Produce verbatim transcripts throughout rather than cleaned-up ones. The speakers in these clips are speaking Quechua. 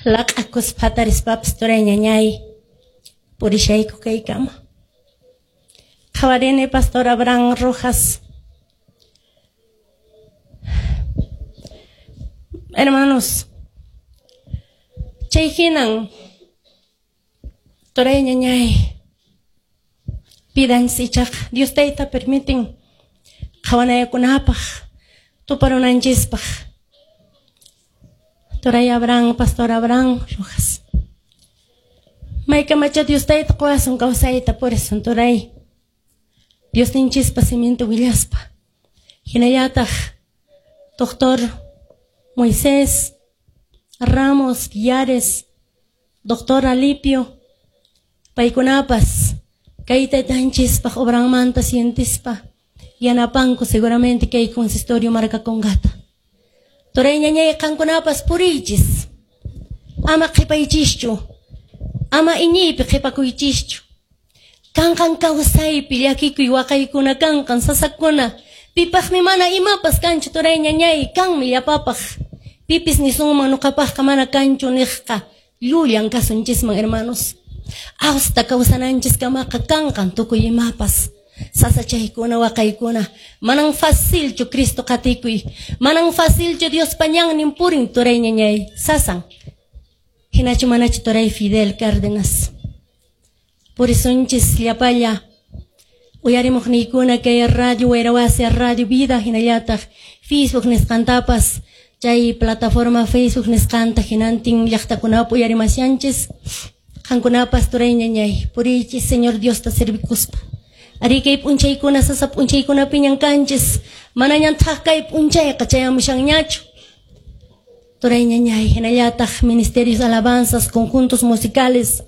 Laq'akuspa hatarispapas turay ñañay purishayku kaykama. Qhawarini Pastor Abraham Rojas. Hermanos, chay hinan turay ñañay pidanchis ichaqa Dios tayta permiten qhawanayakunapaq tuparunanchispaq. Turay Abraham, Pastor Abraham Rojas. Maykamacha Dios tayta quwasun kawsayta purisun turay. Dios ninchispa siminta willaspa. Hinallataq Doctor Moisés Ramos Villares, Doctor Alipio, paykunapas kay taytanchispaq obranmanta sientispa yanapanku seguramente kay consistorio markakungata. Turay ñañay qankunapas puriychis. Ama qhipaychischu. Ama iñiypi qhipakuychischu. Kanqan kawsaypi llakikuy waqaykuna kanqan sasakuna. Pipaqmi mana imapas kanchu turay ñañay kanmi llapapaq. Pipis nisunman nuqapaqqa mana kanchu niqqa llullan kasunchisman hermanos. Hasta kawsananchis kamaqa kanqan tukuy imapas. Sasachaykuna waqaykuna manan facilchu Cristo qatikuy. Manan facilchu Dios pañannin purin turay ñañay sasan. Hinachu manachu turay Fidel Cárdenas. Purisunchis llapalla uyarimuqniykuna kay radio Wayrawasi Radio Vida hinallataq Facebook nisqantapas chay plataforma Facebook nisqanta hinantin llaqtakunapi uyarimashanchis. Qankunapas turay ñañay puriychis Señor Diosta servikuspa. Ari kay p'unchaykuna sasa p'unchaykunapiñan kanchis manañan thaq kay p'unchayqa chayamushanñachu. Turay ñañay hinallataq ministerios alabanzas conjuntos musicales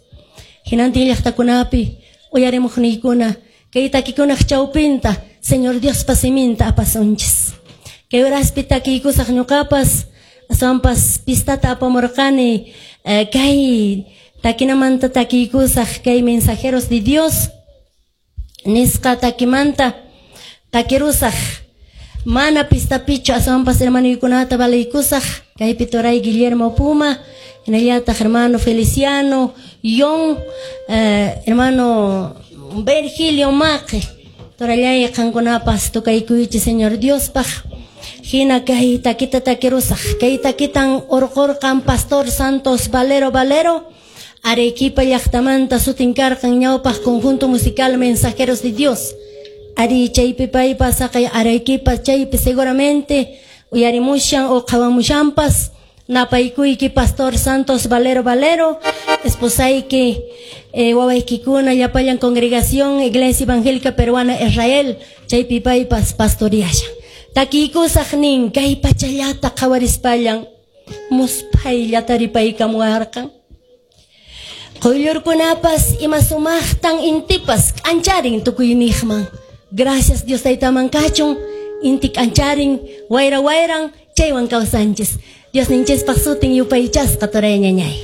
hinantin llaqtakunapi uyarimuqniykuna kay takikunaq chawpinta Señor Diospa siminta apasunchis. Kay horaspi takiykusaq ñuqapas aswanpas pistata apamurqani eh, kay takinamanta takiykusaq kay mensajeros de Dios nisqa takimanta takirusaq. Mana pistapichu aswanpas hermanuykunata balaykusaq kaypi turay Guillermo Puma hinallataq hermano Feliciano Yon eh, hermano Virgilio Maqe turallay qankunapas tukaykuychis Señor Diospaq. Hina kay takita takirusaq kay takitan urqurqan Pastor Santos Valero Valero Arequipa llaqtamanta sutin karqan ñawpaq conjunto musical Mensajeros de Dios. Ari chaypi paypas saqay Arequipa chaypi seguramente uyarimushan o qhawamushanpas napaykuyki Pastor Santos Valero Valero esposayki eh, wawaykikuna llapallan congregación Iglesia Evangélica Peruana Israel chaypi paypas pastoriashan. Takiykusaq nin kay pachallata qhawarispallan musphaylla taripaykamuwarqan. Quyllurkunapas ima sumaqtan intipas k'ancharin tukuyniqman. Gracias Dios taytaman kachun inti k'ancharin wayra wayran chaywan kawsanchis. Dios ninchispaq sutin yupaychasqa turay ñañay.